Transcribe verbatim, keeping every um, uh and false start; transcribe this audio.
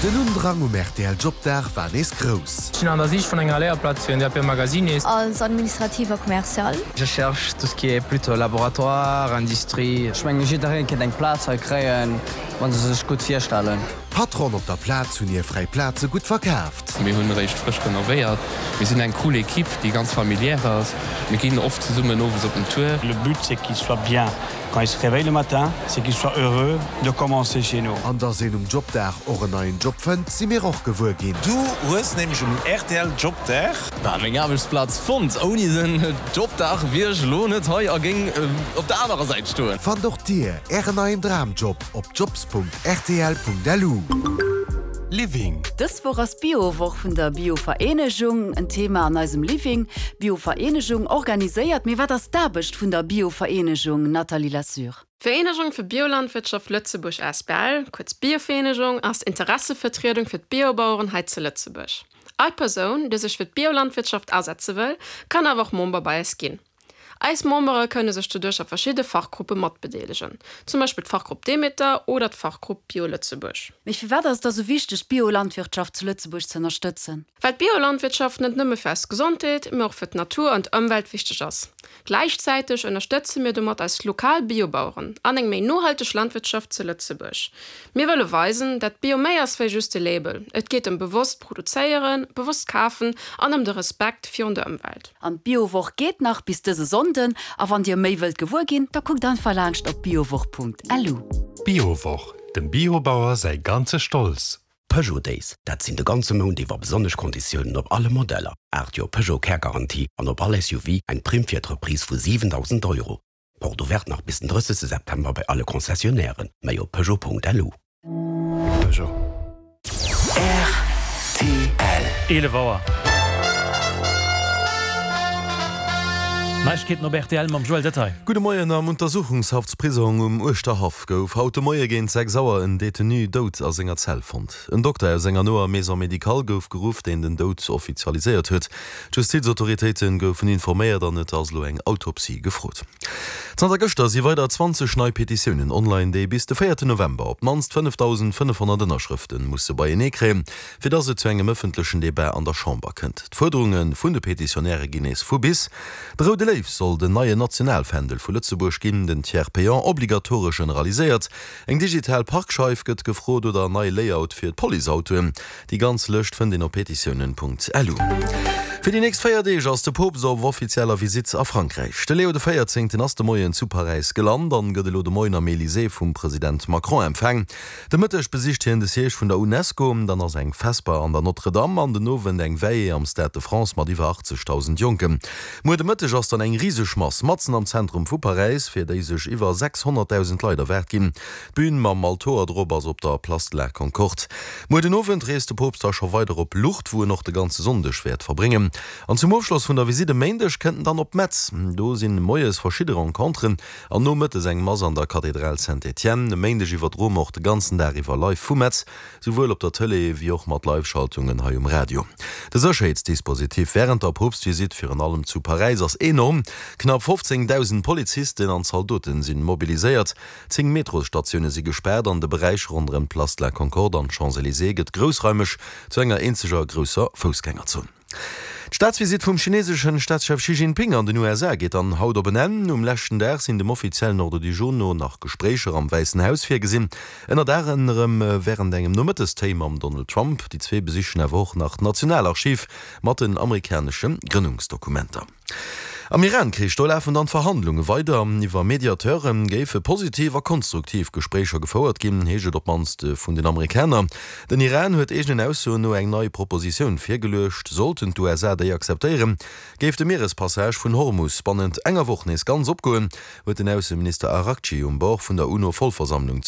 Den Undrang um R T L Jobdag war nees grouss. Ech sinn an der Sich vun enger Léierplaz fir en D A P Magasinist. Als administrative commercial. Je cherche tout ce qui est plutôt laboratoire, industrie. Ech mengen, jidderee kéint eng Plaz hei kréien, wann se sech gutt virstellen. Patronen op der Plaz hunn hir fräi Plaze gutt verkaaft. Mir hunn réischt frësch renovéiert. Mir sinn eng cool Ekipp, déi ganz familiär ass. Mir ginn oft zesummen owes op den Tour. Le but, c'est qu'il soit bien quand il se réveille le matin, c'est qu'il soit heureux de commencer chez nous. An dass een um Jobdag och en neien Job fënnt, si mir och gewuer ginn. Du hues nämlech um R T L Jobdag Bah, meng Aarbechtsplaz fonnt. Ouni den Jobdag wier ech lo net hei a géing op der anerer Säit stoen. Fannt och dir ären neien Dramjob op jobs Punkt R T L Punkt L U. Living. Dës Woch ass Biowoch vun der Biovereenegung, en Thema an eisem Living. Biovereenegung organiséiert, mee wat ass d'Aarbecht vun der Biovereenegung, Nathalie Lassure? D'Vereenegung fir Biolandwirtschaft Lëtzebuerg A S B L, kuerz Biovereenegung, ass Interessevertriedung fir d'Biobaueren hei zu Lëtzebuerg. All Persoun, déi sech fir d'Biolandwirtschaft asetze wëll, kann awer och Member bei eis ginn. Eis Membere kënne sech doduerch a verschidde Fachgruppe matbedeelegen. Zum Beispill d'Fachgrupp Demeter oder d'Fachgrupp Bio Lëtzebuerg. Mee firwat ass dat sou wichteg, d'Biolandwirtschaft zu Lëtzebuerg ze ënnerstëtzen? Well d'Biolandwirtschaft net nëmme fir eis Gesondheet, mee och fir d'Natur an d'Ëmwelt wichteg ass. Gläichzäiteg ënnerstëtze mir domat eis lokal Biobaueren an eng méi nohalteg Landwirtschaft zu Lëtzebuerg. Mir wëlle weisen, dat Bio méi ass wéi just e Label. Et geet ëm bewosst produzéieren, bewosst kafen an ëm de Respekt virun der Ëmwelt. An d'Biowoch geet nach bis dëse Sonnden, a wann dir méi wëllt gewuer ginn, da kuckt einfach laanscht op biowoch Punkt L U. Biowoch, dem Biobauer säi ganze Stolz. Peugeot Days, dat sinn de ganze Mount iwwer besonnesch Konditiounen op alle Modeller. aacht Joer Peugeot Care-Garantie an op all S U V eng Primm fir d'Reprise vu siwendausend Euro. Porte ouverte nach bis den drëssegste September bei alle Concessionnairen. Méi op Peugeot Punkt L U. Peugeot. R T L. eelef Auer. Neiegkeeten op R T L mam Joël Detail. Gudde Moien. Am Untersuchungshaftsprisong um Uerschterhaff gouf haut de Moie géint sechs Auer en Detenu dout a senger Zell fonnt. En Dokter aus enger noer Maison médicale gouf geruff, deen den Doud offizialiséiert huet. D'Justizautoritéite goufen informéiert an et ass elo eng Autopsie gefrot. Zanter gëschter si weider zwanzeg nei Petitiounen online, déi bis de véierten November op d'mannst fënnefdausendfënnefhonnert Ënnerschrëfte musse beienee kréien, fir datt et zu engem ëffentlechen Debat an der Chamber kënnt. D'Fuerderunge vun de Petitionäre ginn nees vu bis. De Roude Léiw soll den neien Nationalfändel vu Lëtzebuerg ginn, den Tiers payant obligatoresch generaliséiert, eng digital Parkscheif gëtt gefrot oder nei Layout fir d'Policeautoen. Déi ganz Lëscht fënnt een op petitiounen Punkt L U. Fir déi nächst véier Deeg ass de Poopst op offizieller Visitt a Frankräich. De Leo de Véierzéngten ass de Moien zu Paräis gelant an gëtt elo de Moien am Elysée vum President Macron empfaang. De Mëtteg besicht hien de Siège vun der UNESCO, dann ass eng Vesper an der Notre-Dame an den Owend eng Veillée am Stade de France mat iwwer achtzegdausend Jonken. Muer de Mëtteg ass dann eng riseg Mass matzen am Zentrum vu Paräis, fir déi sech iwwer sechshonnertdausend Leit erwaart ginn. D'Bün mam Altoer drop ass op der Place de la Concorde. Muer den Owend reest de Poopst da scho weider op Lourdes, wou en och de ganze Sonndeg wäert verbréngen. An zum Ofschloss vun der Visitt e Méindeg kënnt en dann op Metz. Do sinn moies verschidde Renconteren an nomëttes eng Mass an der Kathedral Saint-Étienne. E Méindeg iwwerdroe mer och de ganzen Dag iwwer live vu Metz, souwuel op der Tëlee wéi och mat Live-Schaltungen hei um Radio. De Sécherheetsdispositif wärend der Poopstvisitt, virun allem zu Paräis, ass enorm. Knapp fofzéngdausend Polizisten an Zaldoten sinn mobiliséiert. Zéng Metrosstatioune si gespaart an de Beräich ronderëm d'Place de la Concorde an d'Champs-Élysées gëtt groussraimeg zu enger eenzeger grousser Foussgängerzon. D'Staatsvisitt vum chineeseschen Staatschef Xi Jinping an den U S A geet dann haut op en Enn. Um leschten Dag sinn dem offiziellen Ordre du jour no nach Gespréicher am Wäissen Haus virgesinn. Ënnert anerem wärend engem Nomëttestéi mam Donald Trump. Déi zwee besichen awer och nach d'Nationalarchiv mat den amerikanesche Grënnungsdokumenter. Am Iran-Krich, do lafen dann d'Verhandlunge weider. Iwwer Mediateure géife positiv a konstruktiv Gespréicher gefouert ginn, heescht et op d'mannst vun den Amerikaner. Den Iran huet eegenen Aussoen no eng nei Propositioun virgeluecht. Sollten d'U S A déi akzeptéieren, géif de Mierespassage vun Hormus bannent enger Woch nees ganz opgoen, huet den Ausseminister Araghchi um Bord vun der UNO-Vollversammlung